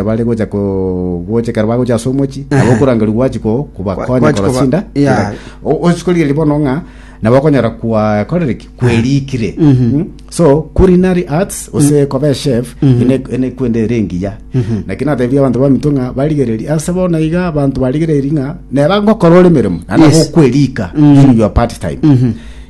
Bare gocha ko gocha ekero bagocha ase omochie, nabo okorangerigwa gwachi ko kobakonya Gwachi korora koba- chinda yeah. chinda. O- ochi korigereria bono ng'a nabo okonyora kwakorire ki kwerikire Mm. So culinary arts gose koba echef ene ene kwende ere engiya. Naki natebirie abanto baminto ng'a barigererie ase bono iga abanto barigereiri ng'a neba ngokora ore emeremo naende Yes. nabo okwerika in your part time.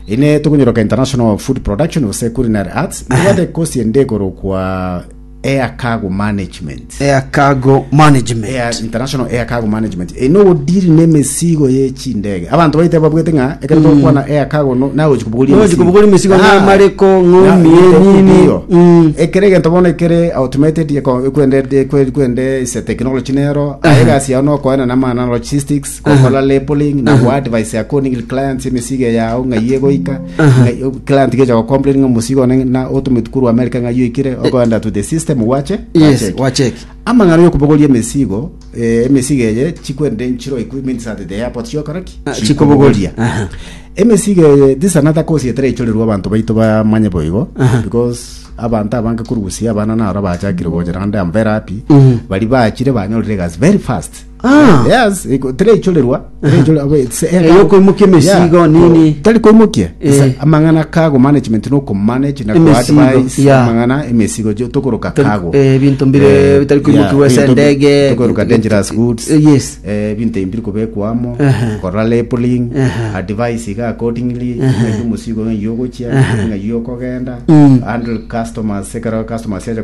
Ine tokonyeroka international food production gose culinary arts, ntobwate ekosi ende ekorokwa Air Cargo Management. Air Cargo Management. Air, International Air Cargo Management. Eye nogodiri nemesigo ye chindege. Abanto baite babwete ng'a ekero togokwana air cargo no nagochi kobogoria Nogochi kobogoria emesigo Ah, ng'amareko, ng'omie, na- nini. ndiyo. Mm. Ekere egento bono ekere automated eko- ekwende ekwe- ekwende ase technology nero aye egasi yao nokoena na amang'ana logistics Gokora labeling na go advise accordingly clients emesigo eye yao ng'ai egoika ng'ai client gecha go complain ng'a omosigo one na otometwe korwa America ng'ai oikire okoenda to the system gwache Yes, gwacheki. gwacheki. Amang'ana yokobogoria emesigo eh, emesigo eye chikwende nchiro equipments at the airport chiokora ki? Ah, chikobogoria. Aha. Emesigo eye this another course etaraichorerwa abanto baito bamanye boigo because abanto abange korwa gusii abana naro bachakire gocha naende I'm very happy baria bachire banyorire egasi very fast Ah. Yes, iko- tereichorerwa tereichorerwa it's air Eh, cargo. yokoimokia emesigo, Yeah, nini. tari koimokia Eh. It's amang'ana cargo management no komanage na Emesigo, koadvise yeah. amang'ana emesigo jo- tokoroka Tari- cargo eh, ebinto mbire Eh, bitari koimokigwa yeah, ase ebinto bi- endege, tokoroka ebinto- dangerous goods Eh, yes. eh, ebinto ebi mbiri kobekwa amo Ehe. korora labeling Ehe. advice iga accordingly ng'ai omosigo ng'ai ogochia ng'ai okogenda Mm. handle customers ekero customers yacha.